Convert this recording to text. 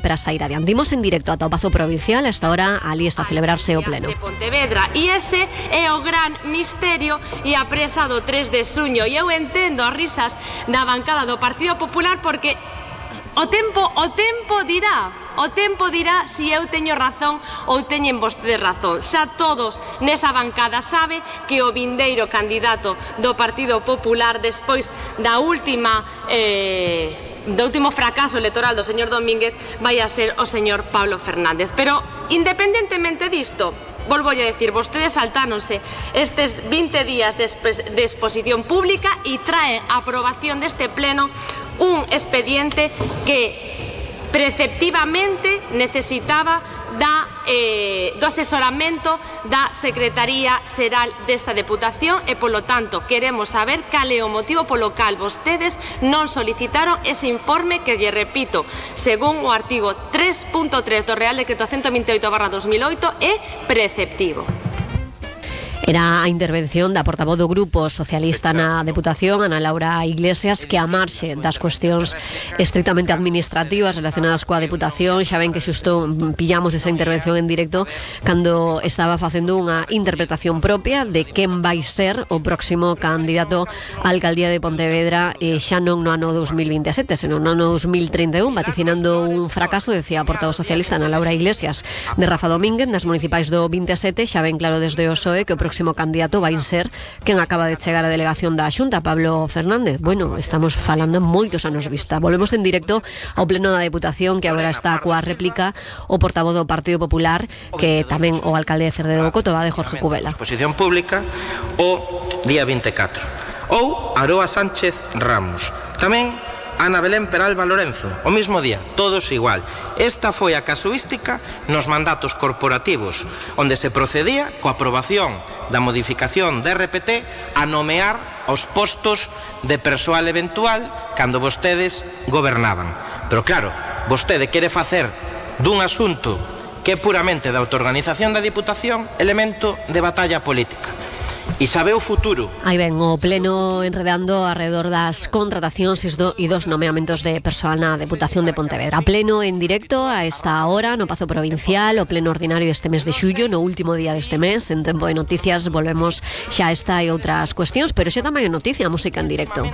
para sair adiante. Imos en directo ata o Pazo Provincial. A esta hora ali está a celebrarse o pleno de Pontevedra, e ese é o gran misterio e a presa do 3 de xuño. E eu entendo as risas da bancada do Partido Popular, porque o tempo dirá se eu teño razón ou teñen vostedes razón. Xa todos nesa bancada sabe que o vindeiro candidato do Partido Popular, despois do último fracaso electoral do señor Domínguez, vai a ser o señor Pablo Fernández. Pero, independentemente disto, volvo a decir, vostedes saltáronse estes 20 días de exposición pública e trae a aprobación deste pleno un expediente que preceptivamente necesitaba do asesoramento da Secretaría Xeral desta Deputación e, polo tanto, queremos saber cal é o motivo polo cal vostedes non solicitaron ese informe que, lle repito, según o artigo 3.3 do Real Decreto 128/2008 é preceptivo. Era a intervención da portavoz do Grupo Socialista na Deputación, Ana Laura Iglesias, que a marxe das cuestións estritamente administrativas relacionadas coa Deputación. Xa ven que xusto pillamos esa intervención en directo cando estaba facendo unha interpretación propia de quen vai ser o próximo candidato á alcaldía de Pontevedra, xa non no ano 2027, senón no ano 2031, vaticinando un fracaso, decía a portavoz socialista Ana Laura Iglesias, de Rafa Domínguez nas municipais do 27. Xa ven claro desde o PSOE que o próximo candidato vai ser quen acaba de chegar á delegación da Xunta, Pablo Fernández. Bueno, estamos falando moitos anos vista. Volvemos en directo ao pleno da Deputación, que agora está coa réplica o portavoz do Partido Popular, que tamén o alcalde de Cerdedo Cotoba, de Jorge Cubela. Exposición pública o día 24. Ou Aroa Sánchez Ramos. Tamén Ana Belén Peralba Lorenzo, o mismo día, todos igual. Esta foi a casuística nos mandatos corporativos, onde se procedía coa aprobación da modificación de RPT a nomear os postos de persoal eventual cando vostedes gobernaban. Pero claro, vostede quere facer dun asunto que é puramente da autoorganización da Diputación elemento de batalla política. E sabe o futuro. Aí ven o pleno enredando alrededor das contratacións e dos nomeamentos de persoal na Deputación de Pontevedra. Pleno en directo a esta hora no Pazo Provincial, o pleno ordinario deste mes de xullo, no último día deste mes. En Tempo de Noticias volvemos xa a esta e outras cuestións, pero xa tamén en noticia, música en directo.